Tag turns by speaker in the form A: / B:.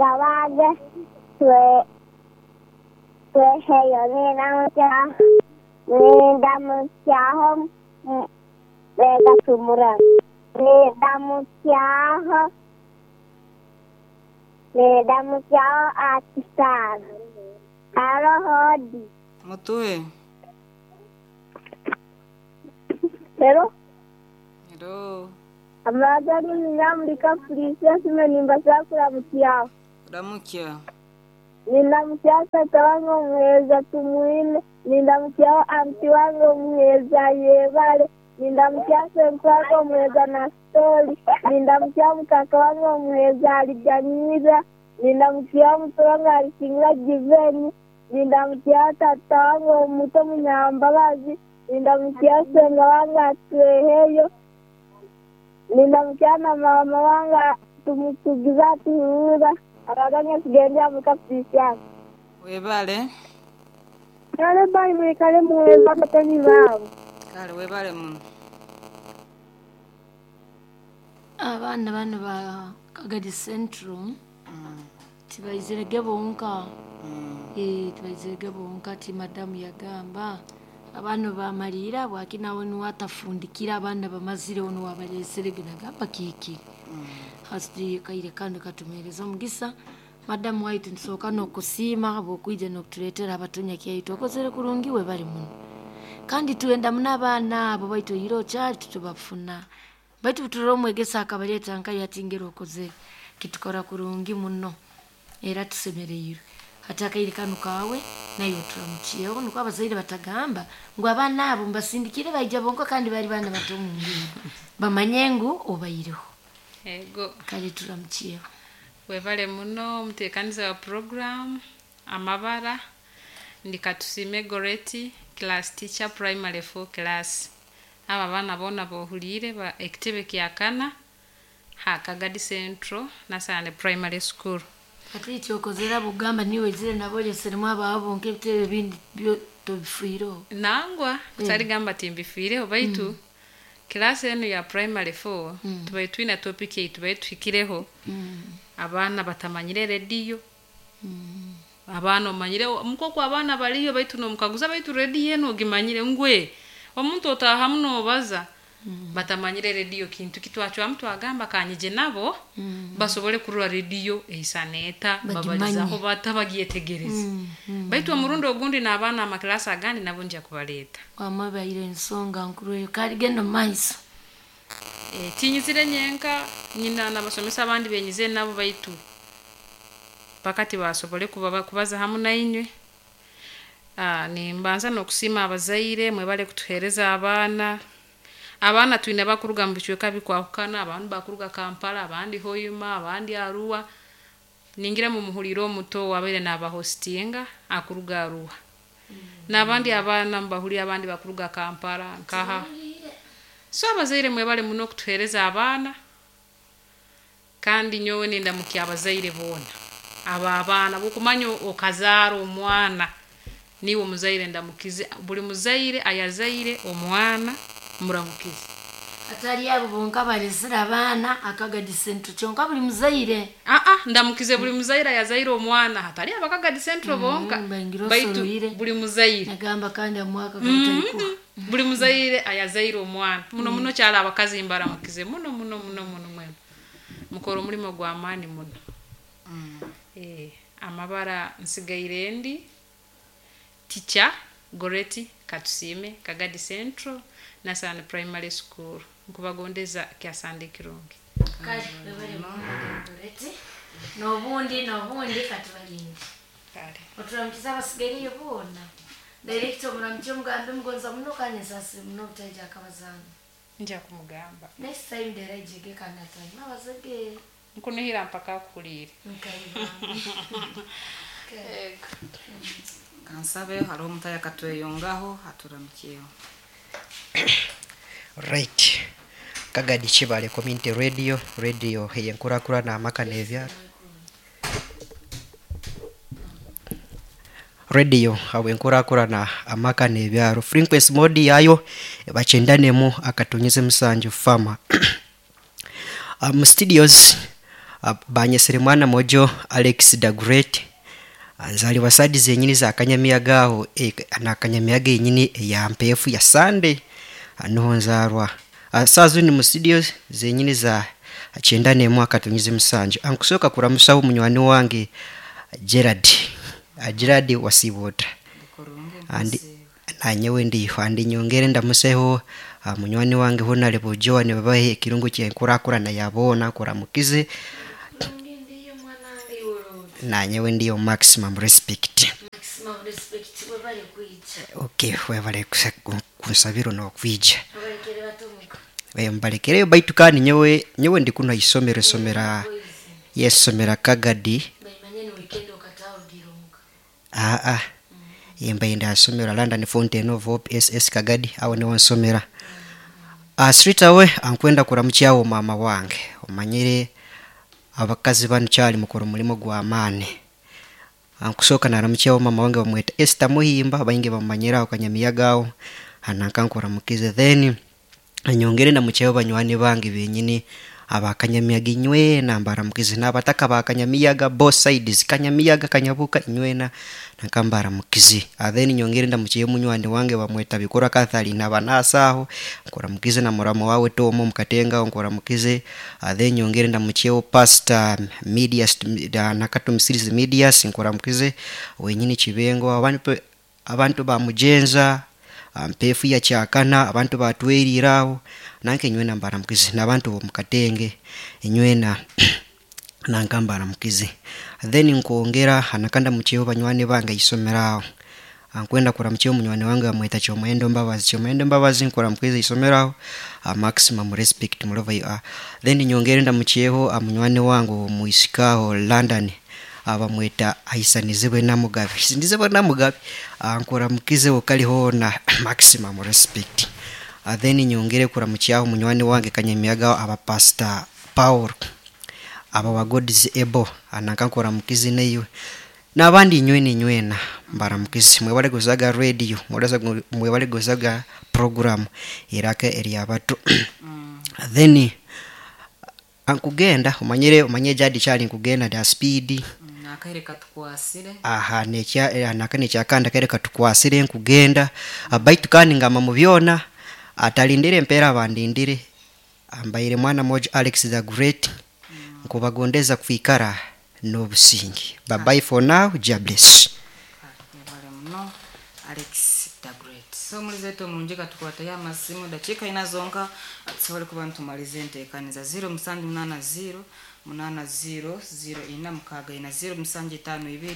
A: Gabaage twe tweheyo nindamutsyaho begatumura nindamutsyaho nindamutsyaho Akisaara haroho odi.
B: Mutuhe.
A: Hello.
B: Hello.
A: Amagara Nyamulika Princess nimbasa kuramutsyaho.
B: Ramukya.
A: Nindamutsyaho tata wange omuheereza Tumwine, nindamutsyaho anti wange omuheereza Yebare, nindamutsyaho senku wange omuheereza Nasitori, nindamutsyaho mukaka wange omuheereza Aliganyira, nindamutsyaho muto wange Alisingira Giveni, nindamutsyaho tata wange omuto Munyambabazi, nindamutsyaho senga wange Atweheyo, nindamutsyaho na mama wange tumutugiza atuhurura, abaganya tugendera muka Priscilla.
B: Webale.
A: Kale bai mwikale muweza abatani baabo.
B: Kale webale muno.
C: Abaana bano ba Kagadi Central tibaizirege bonka. Tibaizirege bonka ti madamu yagamba abaana bamalira bwakina we niwe atafundikira abaana bamazireho niwe abaleserege nagamba kiki. Hasi kaire kandi katumereza omugisa madamu waitu nsooka n'okusiima habw'okwija n'okutuleetera abatonya kyaitu okozere kurungi we bali muno. Kandi twenda muno abaana abo baitu oihire okyali titubafuna. Baitu turora omwegesa akabaleeta nkayo ati ngeri okozere kitukora kurungi muno era tusemereirwe. Hati akaire kanu kaawe naye oturamukiyeho nikwo abazaire batagamba ngu abaana abo mbasindikire baija bonka kandi bari baana bato omu nguudo. Bamanye ngu obaireho.
D: Ego.
C: Kale turamukiyeho.
D: Webale muno omuteekaniza wa program amabara ndi Katusime Goreti class teacher primary 4 class. Aba abaana boona bohuliire ba ekitebe kya kana ha Kagadi Central Nasane Primary School.
C: Hati ekyokozere bugamba niwe oizire nabo oleseremu abaabo bonka ebitebe ebindi byo tobifiireho.
D: Nangwa kutarigamba timbifiireho baitu class enu ya primary 4 tubaire twine topic ei tubaire tuhikireho. Abaana batamanyire rediyo. Abaana omanyire mukoko abaana bariyo baitu nomukaguza baitu rediyo enu ogimanyire ngwe omuntu otaahamu nobaza batamanyire rediyo kintu kitwacwamu twagamba kanyije nabo basobole kurora rediyo eisana eta babalizaho bata bagyetegereze. Baitu omurundi ogundi n'abaana amakilasi agandi nabo nja kubaleeta.
C: Wamwe baire ensonga nkuru eyo kale genda omu maiso.
D: Tinyizire nyenka nyina n'abasomesa abandi benyize nabo baitu paka tibasobole kubaza hamu nainywe. Nimbanza n'okusiima abazaire mwebale kutuheereza abaana. Abaana twine bakuruga mu bicweka bikwahukana, abandi bakuruga Kampala, abandi Hoima, abandi Arua. Ningira mumuhulire omuto owabaire nabahostinga akuruga Arua. N'abandi abaana mubahulire abandi bakuruga Kampala nkaha. So abazaire mwebale muno okutuheereza abaana kandi nyowe nindamukya abazaire boona. Abo abaana bw'okumanya okazaara omwana niiwe omuzaire ndamukize buri muzaire ayazaire omwana muramukize.
C: Hatari abo bonka abalesire abaana Akagadi Central kyonka buri muzaire.
D: Ndamukize buri muzaire ayazaire omwana hatari aba Kagadi Central bonka
C: Baingira
D: baitu
C: osoroire.
D: buri muzaire.
C: Nagamba kandi omwaka gutarikuha.
D: Buri muzaire ayazaire omwana muno muno kyali abakazi mbaramukize muno muno muno muno mwena. Mukora omurimo gw'amaani muno. Amabara nsigaire ndi teacher Goreti Katusime Kagadi Central Nasani Primary School. Nkubagondeza kya Sunday kirungi.
C: Kale webale muno Goreti. N'obundi katubalinde.
D: Kale.
C: Oturamukize abasigaireyo boona. Director omuramukye omugambe mugonza muno kandi nsaasire muno obutaija akabazaana.
D: Nja kumugamba.
C: Next time ndera ijege kandi atanyuma abazege.
D: Nkunihira mpaka akuhuliire.
C: Nkaibanga.
D: Ego.
B: Kansabe hariho omutaya akatweyongaho aturamukiyeho.
E: Right. Kagadi Kibale Community Radio, radio eyenkurakurana amaka n'ebyaro. Radio habwenkurakurana amaka n'ebyaro. Frequency mode yayo bakyendanemu akatonyeze musanju fama. Mu studios Banyesere mwana mojo Alex the Great, nzaliwa sadi zenyini za kanyamiyaga aho, na kanyamiyaga yenyini eya mpefu ya Sunday, niho nzarwa. Saa zini mu studio zenyini za 91 akatonyize 7. Ankusooka kuramusaho munywani wange Gerard, Gerard Wasibota.
B: Kurungi.
E: Andi nanyewe ndiho andi nyongere ndamuseho, munywani wange honarebo Joan babahe ekirungo kyenkurakurana yabona kuramukize.
C: Ndiyo mwanange iwe.
E: Nanyewe ndiyo, maximum respect.
C: Maximum respect, webale kwija.
E: Okay, webale kunsabira nokwija.
C: Abalekere batomuka.
E: Mbalekereyo baitu kandi nyewe ndi kuno isomero somera.
C: Boys,
E: Yesomera Kagadi.
C: baimanye ni weekend okatawugironga.
E: Aa, yembaye ndasomera London Fountain of Hope SS Kagadi, awo niwo nsomera. Straight away ankwenda kuramukyawo mama wange. Omanyire abakazi banu kyali mukora omulimo gw'amaani. Ankusooka naramukyawo mama wange bamweta Esther Muhimba, baingi bamumanyiraho kanyamiyaga aho, anankankuramukize. Then anyongere ndamukyayo banywani bange benyini abakanyamiyaga inywena, mbaramukize, n'abataka bakanyamiyaga both sides, kanyamiyaga kanyabuka inywena nakambaramukize. Then nyongere ndamukyayo munywani wange bamweta Bikora Catherine abanasaaho, nkuramukize, na muramo wawe Tomo mukatenga, nkuramukize. Then nyongere ndamukyayo Pastor Medias nakatumsirize Medias, nkuramukize wenyini Kibengo, abantu bamujenza mpefu ya kyakana, abantu batweriraho nanke inywena mbaramukize, n'abantu bomukatenge inywena nanka mbaramukize. Then nkwongera anakanda mukyeho banywani bange isomeraho. Ankwenda kuramukyeho munywani wange bamweta Kyomuhendo Mbabazi, Kyomuhendo Mbabazi nkuramukize isomeraho, maximum respect mulova you are. Then nyongere ndamukyeho munywani wange omwisikaho London, abamweta Aisanizibwe Namugabe, Isanizibwe Namugabe, nkuramukize okaliho na maximum respect. Then nyongere kuramukyaho munywani wange kanyamiyaga aba Pastor Paul aba wa God's able, ananka nkuramukize neiwe n'abandi inywena inywena mbaramukize. Mwebale gozaga radio, mwebale gozaga program iraka eryabato. Then ankugenda omanyire omanye jadi kyali nkugenda da speed.
B: Nakaire katukwasire.
E: Aha nekya naka nekyakanda kere katukwasire nkugenda. Baitu kandi ngamba mu byona atalindire empeera bandindire, ambaire mwana moja Alex the Great, nkubagondeza kwikara n'obusingi. Bye bye for now, Jah bless.
B: Webale muno Alex the Great. So mulize wetu omulungi katukwatayo amasimu dakiika ina zonka tusobole kuba nitumaliza enteekaniza. 0780 80 04 64 0752